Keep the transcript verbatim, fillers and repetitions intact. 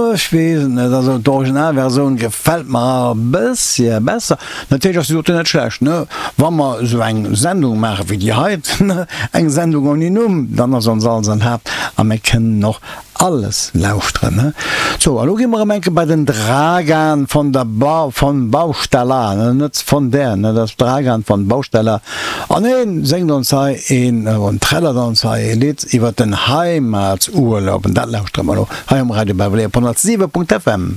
Ech weess et net, also d'Originalversioun gefält mer e bëssche besser. Natierlech ass déi doten net schlecht, ne? Wa mer esou eng Sendung maache wéi déi hei, ne, eng Sendung ouni Numm, dann ass ons alles erlaabt a mir kënnen och alles lauschteren, ne? Sou, a lo gi mer erëm eng Kéier bei den Dragan von der Ba von Baustella, ne, net von der, ne, dat ass Dragan von Baustella an heen séngt ons hei een, an trällert ons hei ee Lidd iwwer den Heimatsurlaub an dat lauschtere mer lo. Hei um Radio Beverly op honnertsiwe Punkt FM.